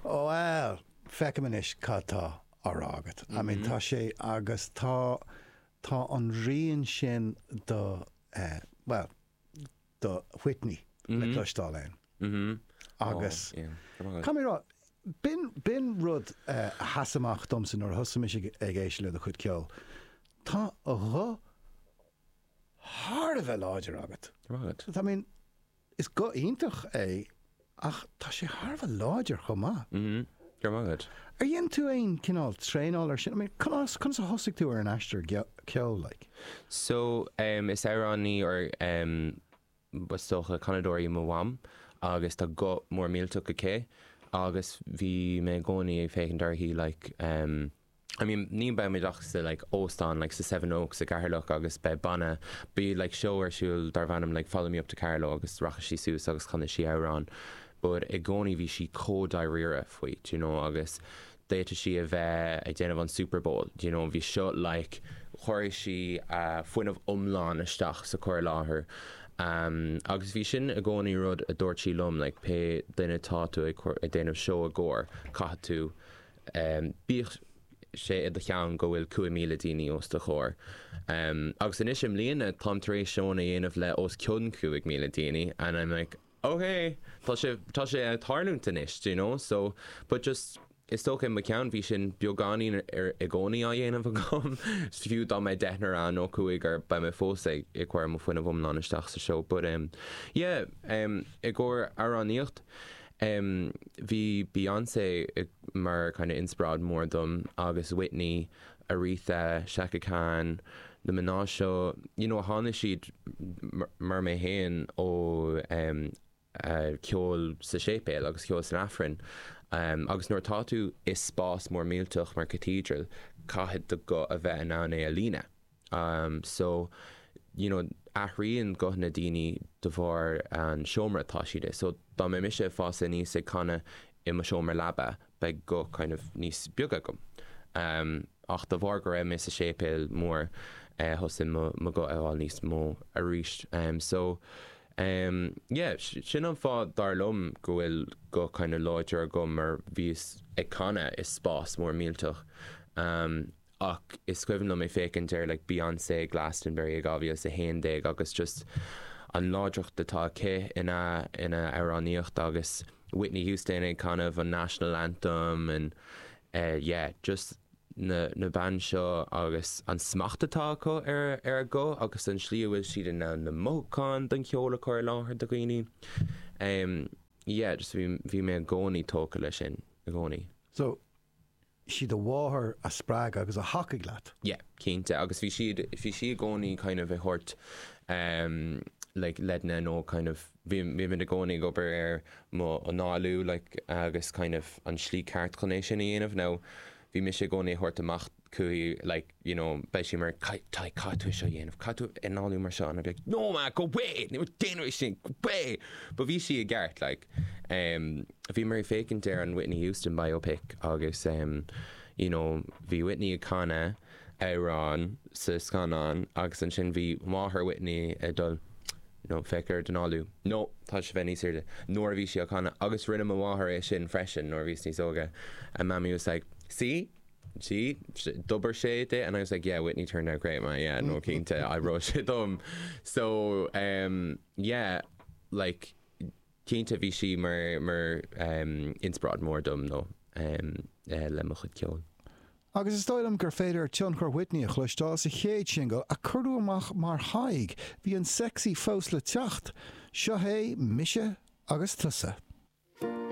Bhuel, feicim anois cad tá á rá agat. I mean, tá sé, agus tá, tá an rian sin do, eh, bhuel, do Whitney le cloisteáil ann. Agus, caithfidh mé a rá, b'in, b'in rud a sheas amach domsa nuair a thosaigh mise ag éisteacht le do chuid ceoil. Tá guth thar a bheith láidir agat. I mean, Is guth iontach é ach tá sé thar a bheith láidir chomh maith. Mm-hmm. Go raibh maith agat. Ar dhein tú aon cineál traenáil ar sin? I mean, conas, conas a thosaigh tú ar an aistear ceoil, like? So, um, is amhránaí or um, is dócha canadóir í mo mham agus tá guth mór millteach aici agus bhí mé i gcónaí ag féachaint uirthi like, um, I mean ní beimid ach sa like óstán like sa Seven Oaks i gCeatharlach agus beidh banna, beidh like seó ar siúl darb ainm like Follow Me Up to Carlow agus rachaidh sí suas agus chanfaidh sí amhrán but i gcónaí bhí sí chomh dáiríre faoi do you know agus d'fhéadfadh sí a bheith ag déanamh an Super Bowl do you know bhí seo like chuir sí a fuinneamh iomlán isteach sa chur i láthair um agus bhí sin i gcónaí rud a dúirt sí liom like pé duine tá tú ag cur ag déanamh seó i gcomhair caithfidh tú Bíodh sé i do cheann go bhfuil 5,000 daoine os do chomhair. Agus anois i mbliana táim tar éis seónna a dhéanamh le os cionn 5,000 daoine and I'm like ok tá sé tá sé ag tarlúint anois do you know so but just is dócha i mo cheann bhí sin beagáinín ar i gcónaí á dhéanamh agam fiú dá mbeidh deichniúr ann nó cúigear beidh mé fós ag ag cur mo fuinneamh iomlán isteach sa seó but um yeah um i gcomhair amhránaíocht Em, bhí Beyonce mar kind of inspioráid mór dom agus Whitney, Aretha, Chaka Khan, na mná seo, you know, tháinig siad mar mé féin ó em, ceol sa séipéal agus ceol san Aifreann. Em, agus nuair atá tú i spás mór millteach mar cathedral, caithfidh do guth a bheith in ann é a líonadh. So, you know, athraíonn guthanna daoine de bharr an seomra atá siad i. So, dá mbeidh mise ag fás aníos ag canadh i mo seomra leaba, beidh guth kind of níos beag agam. Ach de bharr go raibh mé sa séipéal mór, thosaigh mo mo guth a fháil níos mó arís. So, yeah, sin an fáth dar liom go bhfuil guth kind of láidir agam mar bhíos ag canadh i spás mór millteach. Ach is cuimhin liom ag féachaint ar like Beyonce ag Glastonbury i 2011 agus just an láidreacht atá aici ina ina amhránaíocht agus Whitney Houston ag canadh an National Anthem and eh yeah just na na bean seo agus an smacht atá acu ar ar a guth agus an slí a bhfuil siad in ann na mothúcháin don cheol a chur i láthair do dhaoine. Em yeah just bhí bhí mé i gcónaí tógtha leis sin i gcónaí. So sí do mháthair a spreag agus a thacaigh leat. Yeah, cinnte. Agus bhí siad, bhí sí i gcónaí kind of ag thabhairt ehm like leideanna nó kind of bhí, bhí muid i gcónaí ag obair ar mo análú like agus kind of an slí ceart chun é sin a dhéanamh. Now bhí mise i gcónaí ag thabhairt amach chuici like you know beidh sí mar caithfidh caithfidh tú é seo a dhéanamh, caithfidh tú análú mar seo and I'd be like no ma, go away, ní déanfaidh mé sin, go away! But bhí sí i gceart like. Em bhí mé ag féachaint ar an Whitney Houston biopic agus em you know bhí Whitney ag canadh amhrán sa scannán agus ansin bhí máthair Whitney ag dul no féach ar d'análú no tá sé bheith níos airde nuair a bhí sí á canadh agus rinne mo mháthair é sin freisin nuair a bhíos níos óige and mammy was like see See? D'oibir sé di and I was like yeah Whitney turned out great ma yeah no cinnte oibreoidh sé dom. So um yeah like cinnte bhí sí mar mar um inspioráid mór dom nó um eh le mo chuid ceoil. Agus is dóigh liom gur féidir tionchar Whitney a chloisteáil sa chéad singil a cuireadh amach mar Thadhg, bhí an sexy fós le teacht. Seo é Mise agus Tusa.